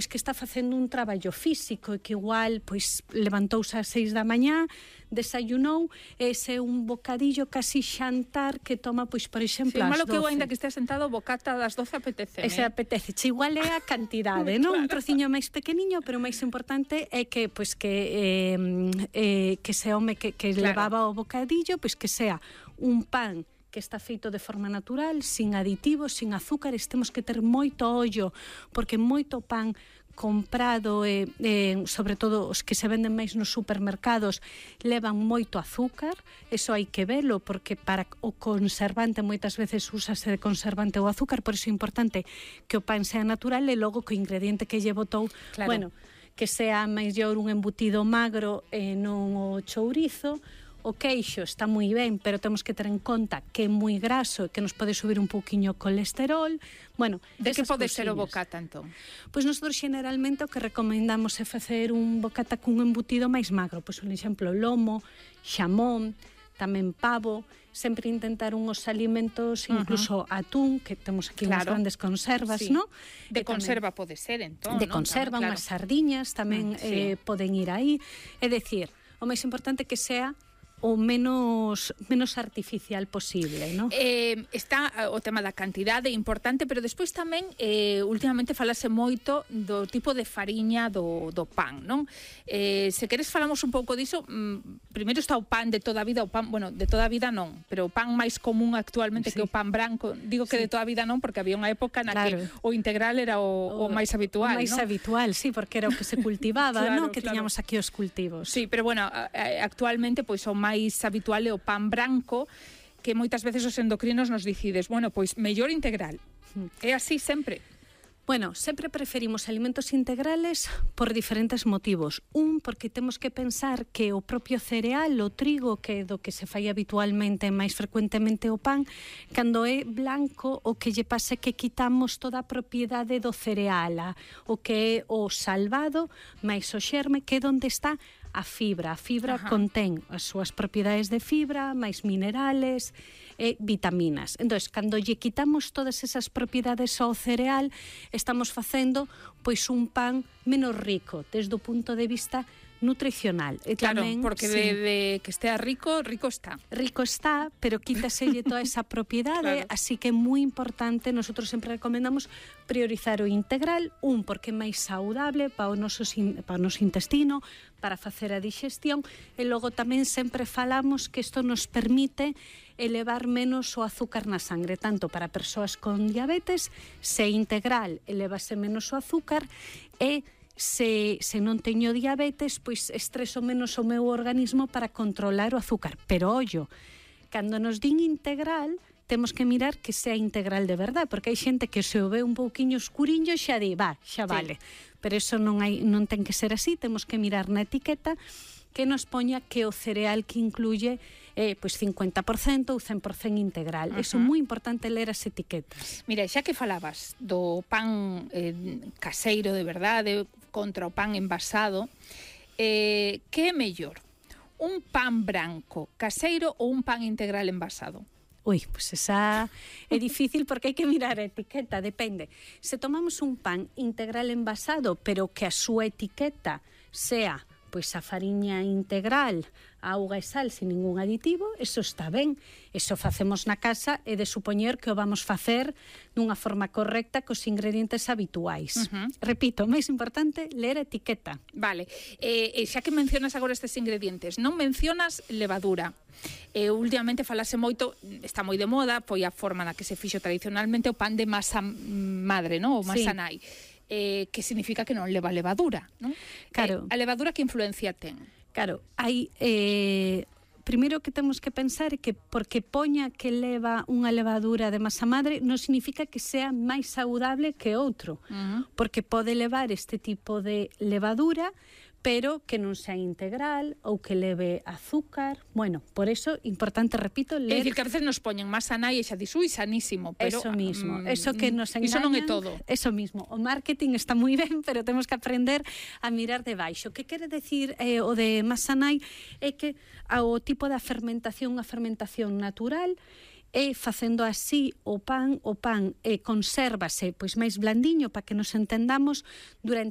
pois que está facendo un traballo físico e que igual pois levantouse ás 6 da mañá, desayunou, ese é un bocadillo casi xantar que toma, pois, por exemplo, ás 12. Malo que eu ainda que estea sentado, o bocata das 12 apetece. Ese apetece, igual é a cantidade, non? Claro. Un trociño máis pequeniño, pero o máis importante é que, pois, que se home que levaba o bocadillo, pois que sea un pan que está feito de forma natural, sin aditivos, sin azúcares. Temos que ter moito ollo, porque moito pan comprado, sobre todo os que se venden máis nos supermercados, levan moito azúcar. Eso hai que velo, porque para o conservante moitas veces úsase de conservante o azúcar, por iso é importante que o pan sea natural e logo que o ingrediente que lle botou, claro, bueno, que sea mellor un embutido magro e non o chourizo. O queixo está moi ben, pero temos que ter en conta que é moi graso e que nos pode subir un pouquiño o colesterol. Bueno, de que pode ser o bocata, entón? Pois nosotros generalmente o que recomendamos é facer un bocata cun embutido máis magro. Pois, por exemplo, lomo, xamón, tamén pavo, sempre intentar unhos alimentos, incluso atún, que temos aquí unhas grandes conservas, non? De conserva pode ser, entón, de conserva, unhas sardiñas tamén poden ir aí. É dicir, o máis importante que sea o menos artificial posible, non? Está o tema da cantidade importante, pero despois tamén últimamente falase moito do tipo de fariña do pan, non? Se queres falamos un pouco diso. Primeiro está o pan de toda a vida, o pan, bueno, de toda a vida non, pero o pan máis común actualmente que o pan branco. Digo que de toda a vida non, porque había unha época na que o integral era o máis habitual, non? O máis habitual, sí, porque era o que se cultivaba, non? Que tiñamos aquí os cultivos. Sí, pero bueno, actualmente pois o máis habitual é o pan branco, que moitas veces os endocrinos nos dicides, bueno, pois mellor integral. É así sempre. Bueno, sempre preferimos alimentos integrales por diferentes motivos. Un, porque temos que pensar que o propio cereal, o trigo, que é do que se fai habitualmente máis frecuentemente o pan, cando é blanco, o que lle pasa é que quitamos toda a propiedade do cereal, o que é o salvado, máis o xerme, que é onde está a fibra. A fibra contén as súas propiedades de fibra, máis minerales e vitaminas. Entón, cando lle quitamos todas esas propiedades ao cereal, estamos facendo pois un pan menos rico desde o punto de vista nutricional. E claro, tamén, porque de que estea rico, rico está. Rico está, pero quítaselle toda esa propiedade, así que é moi importante, nosotros sempre recomendamos priorizar o integral, porque é máis saudable para o noso intestino, para facer a digestión, e logo tamén sempre falamos que isto nos permite elevar menos o azúcar na sangre, tanto para persoas con diabetes, se integral elevase menos o azúcar, e se non teño diabetes, pois estreso menos o meu organismo para controlar o azúcar. Pero ollo, cando nos din integral, temos que mirar que sea integral de verdade, porque hai xente que se o ve un pouquiño escuriño xa di, xa vale. Pero eso non ten que ser así, temos que mirar na etiqueta que nos poña que o cereal que incluye pois 50% ou 100% integral. Eso é moi importante ler as etiquetas. Mira, xa que falabas do pan caseiro de verdade contra o pan envasado, que é mellor? Un pan branco caseiro ou un pan integral envasado? Pois esa é difícil porque hai que mirar a etiqueta, depende. Se tomamos un pan integral envasado, pero que a súa etiqueta sea pois a fariña integral, auga e sal sin ningún aditivo, eso está ben. Eso facemos na casa e de supoñer que o vamos facer dunha forma correcta cos ingredientes habituais. Repito, o máis importante, ler a etiqueta. Vale, xa que mencionas agora estes ingredientes, non mencionas levadura. Últimamente falase moito, está moi de moda, foi a forma na que se fixo tradicionalmente o pan de masa madre, non? O masa nai. Que significa que non leva levadura, non? Claro. A levadura que influencia ten? Claro, hai primeiro que temos que pensar é que porque poña que leva unha levadura de masa madre non significa que sea máis saudable que outro, porque pode levar este tipo de levadura, pero que non sea integral ou que leve azúcar. Bueno, por eso, importante, repito, ler... É dicir, que a veces nos poñen masa nai e xa dis, sanísimo, pero... Eso mismo, eso que nos engañan... Iso non é todo. Eso mismo, o marketing está moi ben, pero temos que aprender a mirar de baixo. Que quere decir o de masa nai é que o tipo da fermentación, a fermentación natural, e facendo así o pan consérvase pois máis blandiño, para que nos entendamos, durante